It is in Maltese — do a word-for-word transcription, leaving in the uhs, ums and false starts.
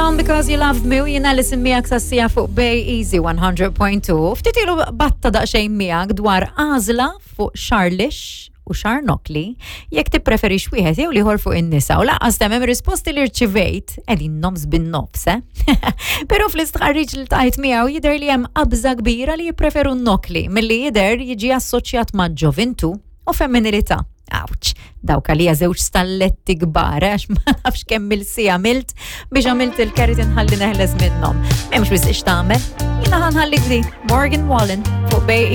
Leon, "Because You Loved Me", u jiena li miegħek sas-siegħa fuq Bay Easy one hundred point two. Ftit ilu batta daqsxejn miegħek dwar għażla fuq xagħar lixx u xagħar nokkli, jekk tippreferix wieħed jew l-ieħor fuq in-nisa, u lanqas hemm risposti li rċivejt qegħdin nofs bin-nofs, eh? Però fl-istħarriġ li tajt miegħu jidher li hemm qabża kbira li jippreferu n-nokkli, milli jidher jiġi assoċjat ma' ġovintu u femminilità. Ouch, dawk għalija żewġ stalletti kbar, għax ma nafx kemm il-siegħa għamilt biex għamilt il-keratin ħalli neħles minnhom. M'hemmx wisq x'tagħmel. Jiena ħa nħallik di Morgan Wallen fuq Bay.